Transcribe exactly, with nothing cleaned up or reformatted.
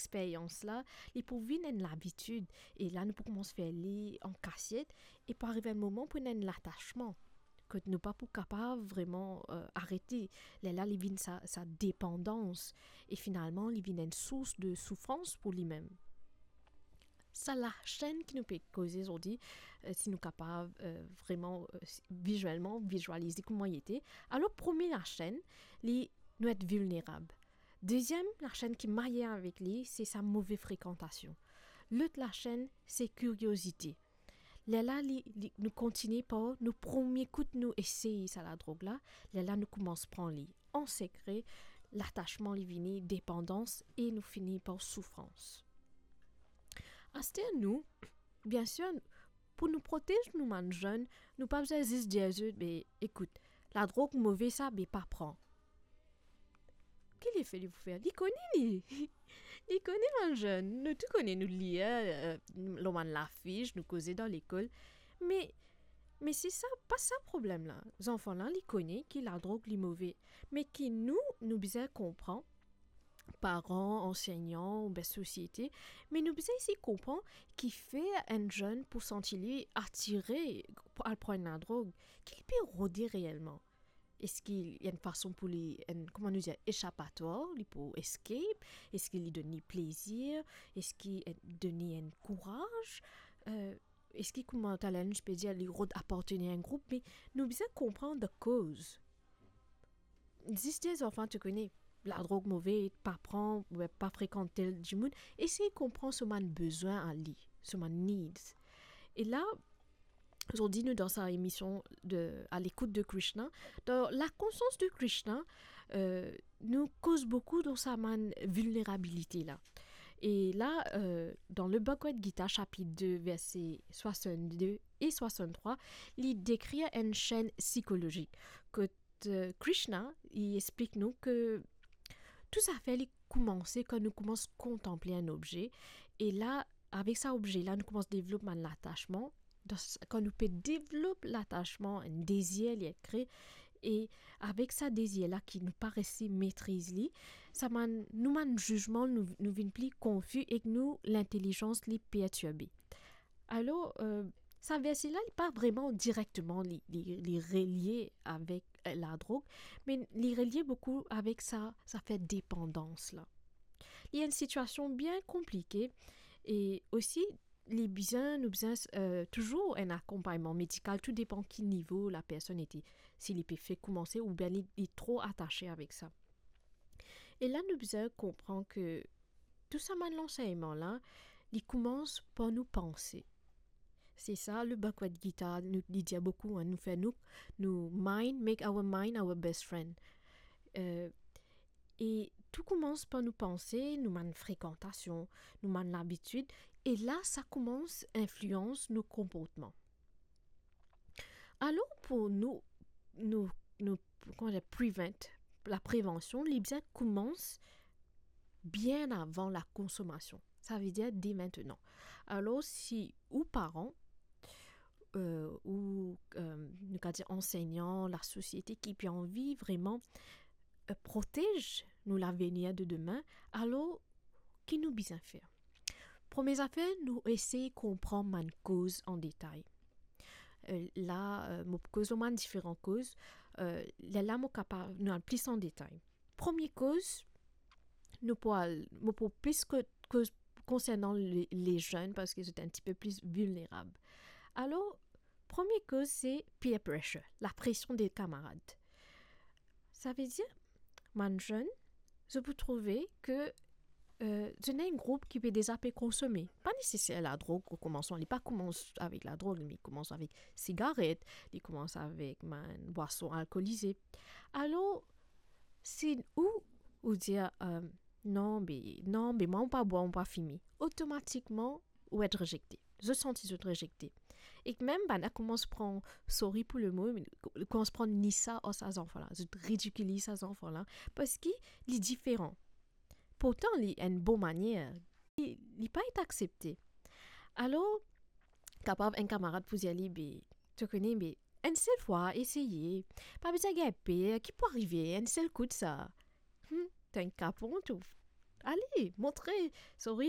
eksperyans la, li pou vinn enn labitid. E la, nou pou koumans fer li an kasiet, e pou ariv enn moman pou ena enn latasman, kot nou pa pou kapav vreman, eh, arete. Lerla, li vinn sa, sa depandans. E finalman, li vinn enn sours de soufrans pou limem. Sa lasenn ki nou pe koze zordi, eh, si nou kapav, eh, vreman, eh, si, vizielman, vizialize kouma li ete. Alor, premie lasenn, li, nou et vilnerab. Deziem lasenn ki marye avek li, se sa move frekantasion. Lot lasenn, se kiriozite. Lerla, li, li, nou kontigne par, nou premie kout nou esey sa ladrog la, lerla nou koumans pran li an sekre, latasman li vini, depandans, e nou fini par soufrans. Aster nou, biensir, pou nou protez nou bann zenn, nou pa bizin zis dir zot, "Be, ekout, ladrog move sa, be pa pran." Ki lefe li pou fer? Li kone li. Li kone bann zenn. Nou tou kone, nou lir, eh, lor bann lafis, nou koze dan lekol. Me, me se sa, pa sa problem la. Zanfan la, li kone ki ladrog li move. Me ki nou, nou bizin konpran, paran, ansegnan, oubien sosiete, me nou bizin osi konpran kifer enn zenn pou santi li atire pou al pran ladrog, ki li pe rode reelman. Eski li ena enn fason pou li, enn, kouma nou dir, esapatwar, li pou escape? Eski li donn li plezir? Eski, eh, donn li enn kouraz? Eh, eski, kouma taler nou ti pe dir, li rod apartenir a enn group? Me nou bizin konpran the cause. Zis dir zanfan, to kone, ladrog move, pa pran, pa frekant tel dimoun. Esey konpran so bann bezwin a li, so bann needs. E la, zordi nou dan sa emision de, à l'écoute de Krishna. Dan La conscience de Krishna, eh, nou koz boukou dan sa bann vilnerabilite la. E la, eh, dan le Bhagavad Gita, sapit de, verse swasannde e swasanntrwa, li dekrir enn senn sikolozik. Kot, eh, Krishna, li explik nou ke tou zafer li koumanse kan nou koumans kontanple enn obze. E la, avek sa obze la, nou koumans devlop bann latasman. Dan s-, kan nou pe devlop latasman, enn dezir li et kre, e avek sa dezir la ki nou pa resi metriz li, sa bann, nou bann zizman, nou, nou vinn pli konfi ek nou lintelizans li pertirbe. Alor, eh, sa verse la, li pa vreman direkteman li, li, li relie avek, eh, ladrog, me li relie boukou avek sa, sa zafer depandans la. Li enn sitiasion bien konplike e osi li bizin, nou bizin, eh, touzour enn akonpagnman medikal, tou depan ki nivo lapersonn ete, si li pe fek koumanse oubien li, li tro atase avek sa. E la, nou bizin konpran ke tou sa bann lansegnman la, li koumans par nou panse. Se sa, le Bhagavad Gita, nou, li dir boukou, hein, nou fer nou, nou mind, make our mind our best friend. Eh, e tou koumans par nou panse, nou bann frekantasion, nou bann labitid, e la, sa koumans inflians nou konportman. Alor, pou nou, nou, nou, kouma dir, prevent, laprevansion, li bizin koumans bien avan lakonsomasion. Savedir de mintenan. Alor, si ou paran, eh, ou, eh, nou kapav dir ansegnan, lasosiete ki pe anvi vreman, eh, protez nou lavenir de demin, alor, ki nou bizin fer? Premie zafer, nou esey konpran bann koz an detay. Eh, la, eh, mo pou koz lor bann diferan koz. Eh, lerla mo kapav, nou al plis an detay. Premie koz, nou pou al, mo pou plis ko-, koz konsernan le, lezenn, parski zot enn tipe plis vilnerab. Alor, premie koz, se peer pressure, lapresion de kamarad. Savedir, bann zenn, zot pou trouve ke, eh, zot ena enn group ki pe deza pe konsome. Pa neseser ladrog o koumansman, li pa koumans avek ladrog, li koumans avek sigaret, li koumans avek bann bwason alkolize. Alor, si ou, ou dir, eh, "Non, be, non, be, mwa, mo pa bwar, mo pa fime," otomatikman, ou et rezekte. Zot santi zot rezekte. Ek mem bann la koumans pran, sorry pou le mo, me koumans pran nisa ar sa zanfan la. Zot ridikiliz sa zanfan la, parski li diferan. Pourtan, li enn bon manier. Li, li pa et aksepte. Alor, kapav enn kamarad pou dir li, "Be, to kone, be, enn sel fwa, eseye. Pa bizin gagn per, ki pou arive, enn sel kout sa." Hmm, to enn kapon tou. Ale, montre, sorry,